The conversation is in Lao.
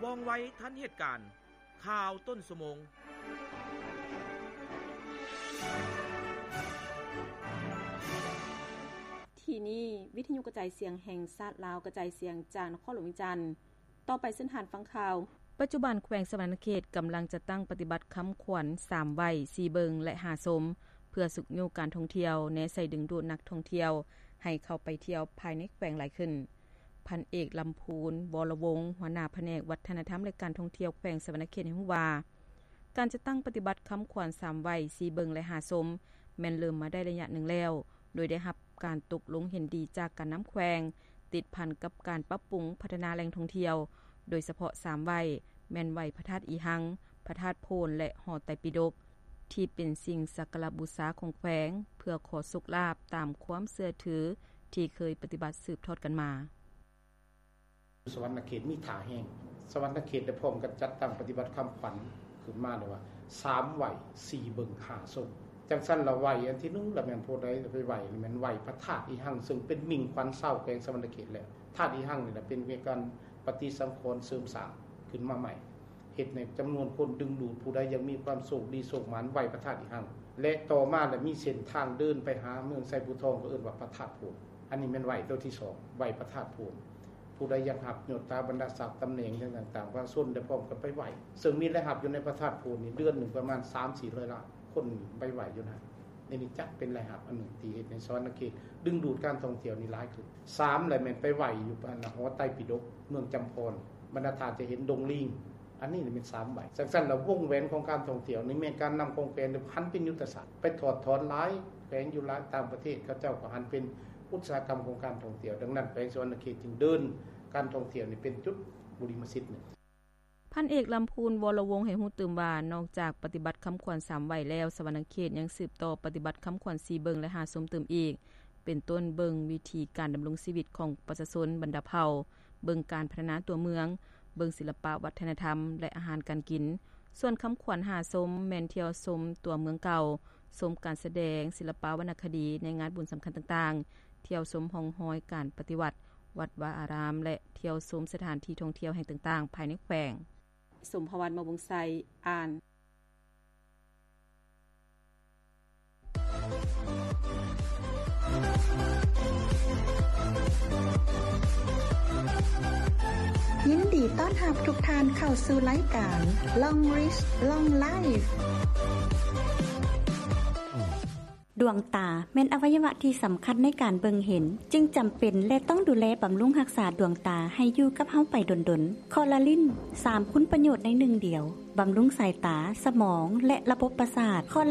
ວ່ອງໄວທັນເຫດການ. ຂ່າວຕົ້ນຊົ່ວໂມງ. ທີ່ນີ້ ວິທະຍຸກະຈາຍສຽງແຫ່ງຊາດລາວ ກະຈາຍສຽງຈາກນະຄອນຫຼວງວຽງຈັນ. ຕໍ່ໄປເຊີນທ່ານຟັງຂ່າວ. ປັດຈຸບັນແຂວງສະຫວັນນະເຂດກຳລັງຈັດຕັ້ງປະຕິບັດຄຳຂວັນ ສາມໄຫວ້ ສີ່ເບິ່ງ ແລະ ຫ້າຊົມ ເພື່ອຊຸກຍູ້ການທ່ອງທ່ຽວ, ແນໃສ່ດຶງດູດນັກທ່ອງທ່ຽວໃຫ້ເຂົ້າໄປທ່ຽວພາຍໃນແຂວງຫຼາຍຂຶ້ນ. ພັນເອກ ລຳພູນ ວໍລະວົງ ຫົວໜ້າພະແນກວັດທະນະທຳ ແລະ ການທ່ອງທ່ຽວແຂວງສະຫວັນນະເຂດໃຫ້ຮູ້ວ່າ ການຈັດຕັ້ງປະຕິບັດຄຳຂວັນ ສາມໄຫວ້ ສີ່ເບິ່ງ ແລະ ຫ້າຊົມ ແມ່ນເລີ່ມມາໄດ້ໄລຍະໜຶ່ງແລ້ວ, ໂດຍໄດ້ຮັບການຕົກລົງເຫັນດີຈາກການນຳແຂວງ ຕິດພັນກັບການປັບປຸງພັດທະນາແຫຼ່ງທ່ອງທ່ຽວ, ໂດຍສະເພາະ ສາມໄຫວ້ ແມ່ນໄຫວ້ພະທາດອີຮັງ, ພະທາດໂພນ ແລະ ຫໍໄຕປິດົກ ທີ່ເປັນສິ່ງສັກກາລະບູຊາຂອງແຂວງ ເພື່ອຂໍໂຊກລາບຕາມຄວາມເຊື່ອຖືທີ່ເຄີຍປະຕິບັດສືບທອດກັນມາ. ສະຫວັນນະເຂດມີທ່າແຮງ. ສະຫວັນນະເຂດໄດ້ພ້ອມກັນຈັດຕັ້ງປະຕິບັດຄຳຂວັນຂຶ້ນມາເລີຍວ່າ ສາມໄຫວ້ ສີ່ເບິ່ງ ຫ້າຊົມ. ຈັ່ງຊັ້ນລະໄຫວ້ອັນທີໜຶ່ງລະແມ່ນຜູ້ໃດໄປໄຫວ້ ແມ່ນໄຫວ້ພະທາດອີຮັງ ເຊິ່ງເປັນມິ່ງຂວັນຊາວແຂວງສະຫວັນນະເຂດແລ້ວ. ທາດອີຮັງນີ້ລະເປັນການປະຕິສັງຂອນເສີມສ້າງຂຶ້ນມາໃໝ່. ເຮັດໃຫ້ຈຳນວນຄົນດຶງດູດ ຜູ້ໃດຢາກມີຄວາມໂຊກດີໂຊກໝານ ໄຫວ້ພະທາດອີຮັງ ແລະ ຕໍ່ມາລະມີເສັ້ນທາງເດີນໄປຫາເມືອງໄຊພູທອງ ກໍເອີ້ນວ່າພະທາດໂພນ. ອັນນີ້ແມ່ນໄຫວ້ໂຕທີສອງ ໄຫວ້ພະທາດໂພນ. ຜູ້ໃດຢາກຮັບຍົດຖາບັນດາສັກຕຳແໜ່ງຫຍັງຕ່າງໆ ປະຊາຊົນໄດ້ພ້ອມກັນໄປໄຫວ້ ເຊິ່ງມີລາຍຮັບຢູ່ໃນພະທາດໂພນນີ້ ເດືອນໜຶ່ງປະມານສາມສີ່ຮ້ອຍລ້ານ ຄົນໄປໄຫວ້ຢູ່ນັ້ນ. ນີ້ຈັດເປັນລາຍຮັບອັນໜຶ່ງທີ່ເຮັດໃຫ້ສະຫວັນນະເຂດດຶງດູດການທ່ອງທ່ຽວນີ້ຫຼາຍຂຶ້ນ. ສາມລະແມ່ນໄປໄຫວ້ຢູ່ອັນຫໍໄຕປິດົກ ເມືອງຈຳພອນ ບັນດາທ່ານຈະເຫັນດົງລີງ. ອັນນີ້ແມ່ນສາມໄຫວ້. ຈັ່ງຊັ້ນລະ ວົງແຫວນຂອງການທ່ອງທ່ຽວນີ້ແມ່ນການນຳຂອງແຂວງຫັ້ນເປັນຍຸດທະສາດ ໄປຖອດຖອນຫຼາຍແຂວງຢູ່ຫຼາຍຕ່າງປະເທດ ເຂົາເຈົ້າກໍຫັນເປັນອຸດສາຫະກຳຂອງການທ່ອງທ່ຽວ. ດັ່ງນັ້ນ ແຂວງສະຫວັນນະເຂດຈຶ່ງເດີນການທ່ອງທ່ຽວນີ້ເປັນຈຸດບຸລິມະສິດໜຶ່ງ. ພັນເອກ ລຳພູນ ວໍລະວົງ ໃຫ້ຮູ້ຕື່ມວ່າ ນອກຈາກປະຕິບັດຄຳຂວັນສາມໄຫວ້ແລ້ວ, ສະຫວັນນະເຂດຍັງສືບຕໍ່ປະຕິບັດຄຳຂວັນສີ່ເບິ່ງ ແລະ ຫ້າຊົມຕື່ມອີກ ເປັນຕົ້ນເບິ່ງວິທີການດຳລົງຊີວິດຂອງປະຊາຊົນບັນດາເຜົ່າ, ເບິ່ງການພັດທະນາຕົວເມືອງ, ເບິ່ງສິລະປະວັດທະນະທຳ ແລະ ອາຫານການກິນ. ສ່ວນຄຳຂວັນຫ້າຊົມ ແມ່ນທ່ຽວຊົມຕົວເມືອງເກົ່າ, ຊົມການສະແດງ, ສິລະປະວັນນະຄະດີໃນງານບຸນສຳຄັນຕ່າງໆ, ທ່ຽວຊົມຮ່ອງຮອຍການປະຕິວັດ, ວັດວາອາຣາມ ແລະ ທ່ຽວຊົມສະຖານທີ່ທ່ອງທ່ຽວແຫ່ງຕ່າງໆ ພາຍໃນແຂວງ. ສົມພະວັນ ມະວົງໄຊ ອ່ານ. ຍິນດີຕ້ອນຮັບທຸກທ່ານເຂົ້າສູ່ລາຍການ Long Reach Long Life. ດວງຕາແມ່ນອະໄວຍະວະທີ່ສຳຄັນໃນການເບິ່ງເຫັນ, ຈຶ່ງຈຳເປັນ ແລະ ຕ້ອງດູແລບຳລຸງຮັກສາດວງຕາໃຫ້ຢູ່ກັບເຮົາໄປດົນໆ. ຄໍລາລິນ ສາມຄຸນປະໂຫຍດໃນໜຶ່ງດຽວ, ບຳລຸງສາຍຕາ, ສະໝອງ ແລະ ລະບົບປະສາດ. ຄໍລາ